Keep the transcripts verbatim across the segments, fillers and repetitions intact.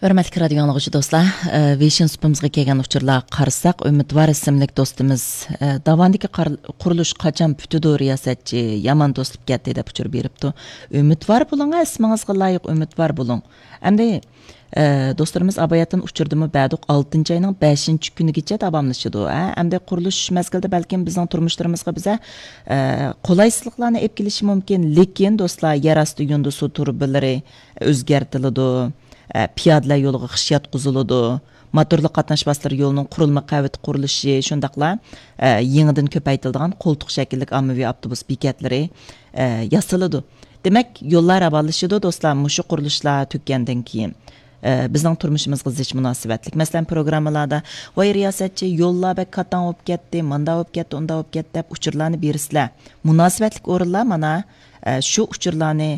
ھۆرمەتلىك رادىيو ئاڭلىغۇچى دوستلار، ئە، ۋېيشىن سۇپىمىزغا كەلگەن ئۇچۇرلارغا قارىساق، ئۈمىدۋار ئىسىملىك دوستىمىز، ئە، داۋاندىكى قار-، قۇرۇلۇش قاچان پۈتىدۇ، رىياسەتچى؟ يامان توسۇلۇپ كەتتى، دەپ ئۇچۇر بېرىپتۇ. ئۈمىدۋار بولۇڭ، ئە، ئىسمىڭىزغا لايىق ئۈمىدۋار بولۇڭ. ئەمدى، ئە، دوستلىرىمىز ئاباياتىن ئۇچۇردىمۇ بەردۇق، ئالتىنچى ئاينىڭ بەشىنچى كۈنىگىچە داۋاملىشىدۇ. ئە، ئەمدى قۇرۇلۇش مەزگىلىدە بەلكىم بىزنىڭ تۇرمۇشلىرىمىزغا بىزە، ئە، قولايسىزلىقلارنى ئېلىپ كېلىشى مۇمكىن، لېكىن دوستلار، يەر ئاستى يۇندى سۇ تۇرۇبىلىرى ئۆزگەرتىلىدۇ. ئە، پىيادىلەر يولىغا خىش ياتقۇزۇلىدۇ. موتورلۇق قاتناش ۋاسىتىلىرى يولىنىڭ قۇرۇلما قەۋىتى قۇرۇلۇشى، شۇنداقلا، ئە، يېڭىدىن كۆپەيتىلىدىغان قولتۇق شەكىللىك ئاممىۋى ئاپتوبۇس بېكەتلىرى، ئە، ياسىلىدۇ. دېمەك، يوللار راۋانلىشىدۇ، دوستلار، مۇشۇ قۇرۇلۇشلار تۈگىگەندىن كېيىن. ئە، بىزنىڭ تۇرمۇشىمىزغا زىچ مۇناسىۋەتلىك. مەسىلەن، پروگراممىلاردا، ۋاي رىياسەتچى، يوللار بەك كاتاڭ بولۇپ كەتتى، ماندا بولۇپ كەتتى، ئۇندا بولۇپ كەتتى، دەپ ئۇچۇرلارنى بېرىسىلەر. مۇناسىۋەتلىك ئورۇنلار مانا، ئە، شۇ ئۇچۇرلارنى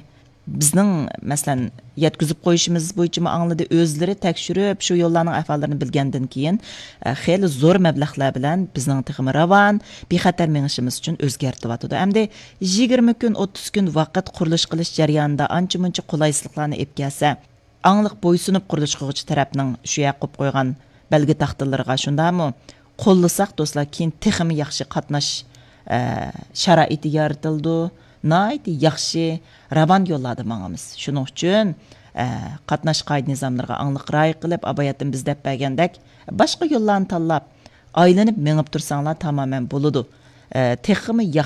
بىزنىڭ، مەسىلەن، يەتكۈزۈپ قويۇشىمىز بويىچىمۇ ئاڭلىدى، ئۆزلىرى تەكشۈرۈپ، شۇ يوللارنىڭ ئەھۋاللىرىنى بىلگەندىن كېيىن، ئە، خېلى زور مەبلەغلەر بىلەن بىزنىڭ تېخىمۇ راۋان، بىخەتەر مېڭىشىمىز ئۈچۈن ئۆزگەرتىۋاتىدۇ. ئەمدى يىگىرمە كۈن، ئوتتۇز كۈن ۋاقىت قۇرۇلۇش قىلىش جەريانىدا ئانچە-مۇنچە قولايسىزلىقلارنى ئېلىپ كەلسە، ئاڭلىق بويسۇنۇپ قۇرۇلۇش قىلغۇچى تەرەپنىڭ شۇ يەرگە قويۇپ قويغان بەلگە تاختىلىرىغا، شۇنداقمۇ؟ قوللىساق، دوستلار، كېيىن تېخىمۇ ياخشى قاتناش، ئە، شارائىتى يارىتىلىدۇ. ناھايىتى ياخشى، راۋان يوللاردا ماڭىمىز. شۇنىڭ ئۈچۈن، ئە، قاتناش قائىدە نىزاملىرىغا ئاڭلىق رىئايە قىلىپ، ئاباياتتىن بىز دەپ بەرگەندەك، باشقا يوللارنى تاللاپ، ئايلىنىپ مېڭىپ تۇرساڭلار تامامەن بولىدۇ. ئە، تېخىمۇ ياخشى